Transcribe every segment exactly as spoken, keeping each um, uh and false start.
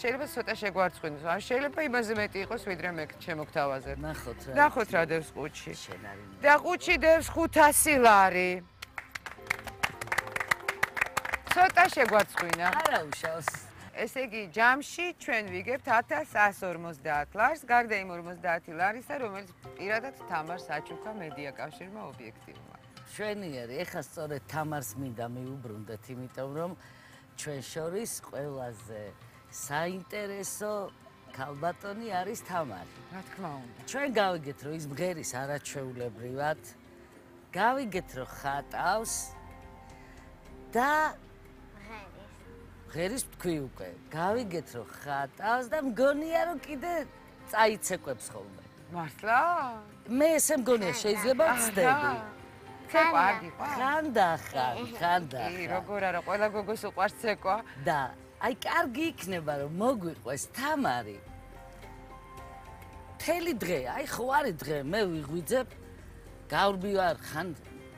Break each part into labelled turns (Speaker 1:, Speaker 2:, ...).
Speaker 1: შეიძლება ცოტა შეგვარცხინოს. ან შეიძლება იმაზე მეტი იყოს, ვიდრე მე შემოგთავაზებ.
Speaker 2: ნახოთ რა.
Speaker 1: ნახოთ რა დევს ყუთში.
Speaker 2: შენ არის.
Speaker 1: და ყუთში დევს ხუთასი ლარი. ცოტა შეგვარცხინა.
Speaker 2: არა უშავს.
Speaker 1: ესე იგი, ჯამში ჩვენ ვიგებთ ათას ათას ორმოცდაათ ლარს, გარდა იმ ორმოცდაათი ლარისა, რომელიც პირადად თამარს აჩუქა მედია კავშირმა ობიექტივმა.
Speaker 2: შვენიერი, ეხლა სწორედ თამარს მინდა მიუბრუნდეთ, იმიტომ რომ ჩვენ შორის ყველაზე საინტერესო ქალბატონი არის თამარი.
Speaker 1: რა თქმა უნდა.
Speaker 2: ჩვენ გავიგეთ, რომ ის მღერის არაჩვეულებრივად, გავიგეთ, რომ ხატავს და მღერის თქვი უკვე. გავიგეთ, რომ ხატავს და მგონია, რომ კიდე წაიცეკვებს ხოლმე.
Speaker 1: მართლა?
Speaker 2: მე ესე მგონია, შეიძლება ვცდები.
Speaker 1: ცეკვა არ გიყვარს?
Speaker 2: ხანდახან, ხანდახან.
Speaker 1: კი, როგორ არა, ყველა გოგოს უყვარს ცეკვა.
Speaker 2: და აი კარგი იქნება, რომ მოგვიყვეს თამარი. მთელი დღე, აი ხო არის დღე, მე ვიღვიძებ, გავრბივარ, ხან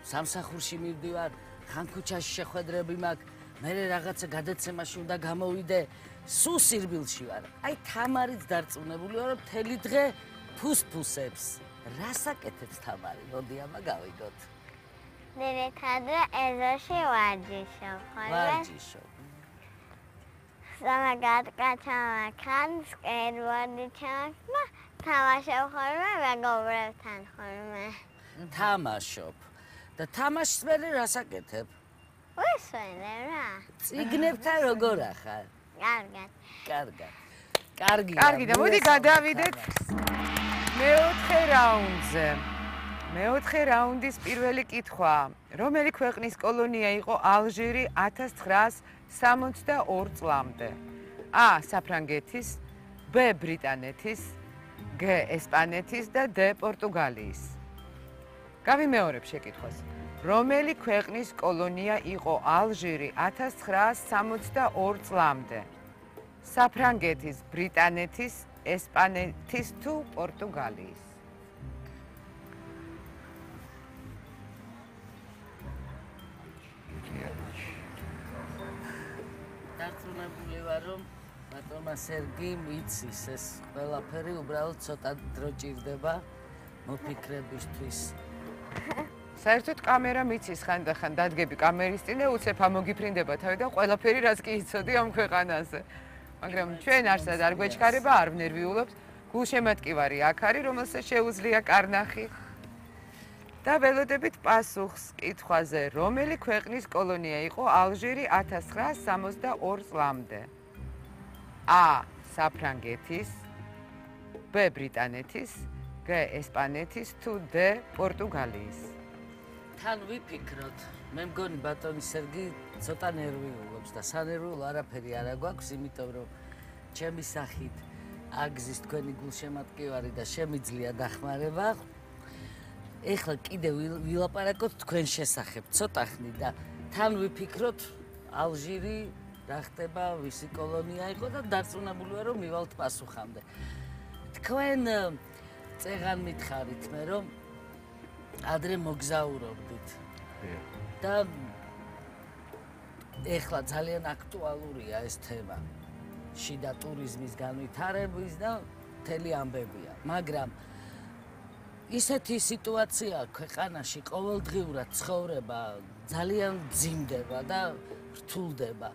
Speaker 2: სამსახურში მივდივარ, ხან ქუჩაში შეხვედრები მაქვს, მე რაღაცა გადაცემაში უნდა გამოვიდე, სულ სირბილში ვარ. აი თამარიც დარწმუნებული ვარ, რომ მთელი დღე ფუსფუსებს. რას აკეთებს თამარი? მოდი ამა გავიგოთ.
Speaker 3: დირექტორ ეზოში ვარჯიშობ, ხოლმე.
Speaker 2: ვარჯიშობ.
Speaker 3: სამაგატკაჩამა ხან სკეიტბორდი ჩამახმა, თამაშობ ხოლმე მეგობრებთან ხოლმე.
Speaker 2: თამაშობ. და თამაშს მე რას აკეთებ?
Speaker 3: ვისვენებ რა.
Speaker 2: წიგნებთან როგორ ახარ?
Speaker 3: კარგად.
Speaker 2: კარგად. კარგია.
Speaker 1: კარგი და მოდი გადავიდეთ მეოთხე რაუნდზე. მეოთხე რაუნდის პირველი კითხვა. რომელი ქვეყნის კოლონია იყო ალჟირი ათას ცხრაას სამოცდაორ წლამდე? A. საფრანგეთის, B. ბრიტანეთის, G. ესპანეთის და D. პორტუგალიის. გავიმეორებ შეკითხვას. რომელი ქვეყნის კოლონია იყო ალჟირი ათას ცხრაას სამოცდაორ წლამდე? საფრანგეთის, ბრიტანეთის, ესპანეთის თუ პორტუგალიის?
Speaker 2: დარწმუნებული ვარ, რომ ბატონმა სერგი მიცის ეს ყველაფერი, უბრალოდ ცოტა დრო ჭირდება მოფიქრებისთვის.
Speaker 1: საერთოდ კამერა მიცის ხანდახან დადგები კამერის წინ და უცებ ამოგიფრინდება თავი და ყველაფერი რაც კი იცოდი ამ ქვეყანაზე. მაგრამ ჩვენ არსად არ გვეჩქარება, არ ვნერვიულობთ. გულშემატკივარი აქ არის, რომელსაც შეუძლია კარნახი. და ველოდებით პასუხს კითხვაზე, რომელი ქვეყნის კოლონია იყო ალჟირი ათას ცხრაას სამოცდაორ წლამდე? A. საფრანგეთის, B. ბრიტანეთის, G. ესპანეთის თუ D. პორტუგალიის?
Speaker 2: თან ვიფიქროთ. მე მგონი ბატონი სერგი ცოტა ნერვიულობს და სანერვიულო არაფერი არ აგვაქვს, იმიტომ რომ ჩემი სახით აგზის თქვენი გულშემატკივარი და შემიძლია დახმარება. ეხლა კიდე ვილაპარაკოთ თქვენ შესახებ ცოტა ხნით და თან ვიფიქროთ ალჟირი რა ხდება, ვისი კოლონია იყო და დარწმუნებული ვარ, რომ მივალთ პასუხამდე. თქვენ წეღან მითხარით მე, რომ ადრე მოგზაურობდით. და ეხლა ძალიან აქტუალურია ეს თემა. შიდა ტურიზმის განვითარების და მთელი ამბებია. მაგრამ ისეთი სიტუაცია ქვეყანაში ყოველდღიურად ცხოვრება ძალიან ძიმდება და რთულდება.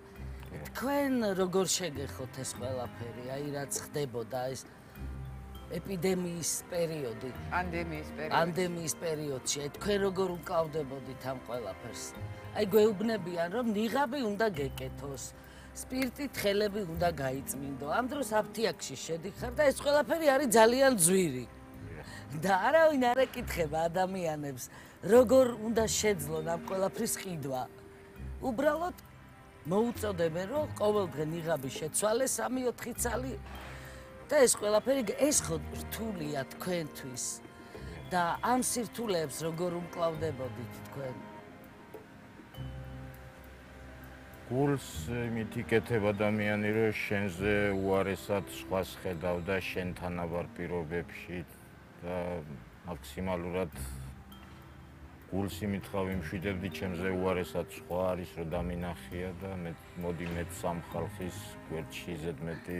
Speaker 2: თქვენ როგორ შეგეხოთ ეს ყველაფერი, აი რაც ხდებოდა ეს ეპიდემიის პერიოდი,
Speaker 1: პანდემიის პერიოდი.
Speaker 2: პანდემიის პერიოდში, აი თქვენ როგორ უკავდებოდით ამ ყველაფერს? აი გვეუბნებიან, რომ ნიღაბი უნდა გეკეთოს, სპირტით ხელები უნდა გაიწმინდო. ამ დროს აფთიაქში შედიხარ და ეს ყველაფერი არის ძალიან ძვირი. და არავინ არ ეკითხება ადამიანებს, როგორ უნდა შეძლონ ამ ყველაფრის ყიდვა. უბრალოდ მოუწოდებენ, რომ ყოველდღე ნიღაბი შეცვალეს სამი ოთხი ცალი და ეს ყველაფერი ეს ხო რთულია თქვენთვის. და ამ სირთულეებს როგორ უმკლავდებოდით თქვენ?
Speaker 4: გულს იმით იკეთებ ადამიანი, რომ შენზე უარესად სხვას ხედავ და შენთან აბარ პირობებში და მაქსიმალურად გულს იმით ვიმშვიდებდი, ჩემზე უარესად სხვა არის, რომ დამინახია და მე მოდი მეც სამ ხალხის გვერდში ზედმეტი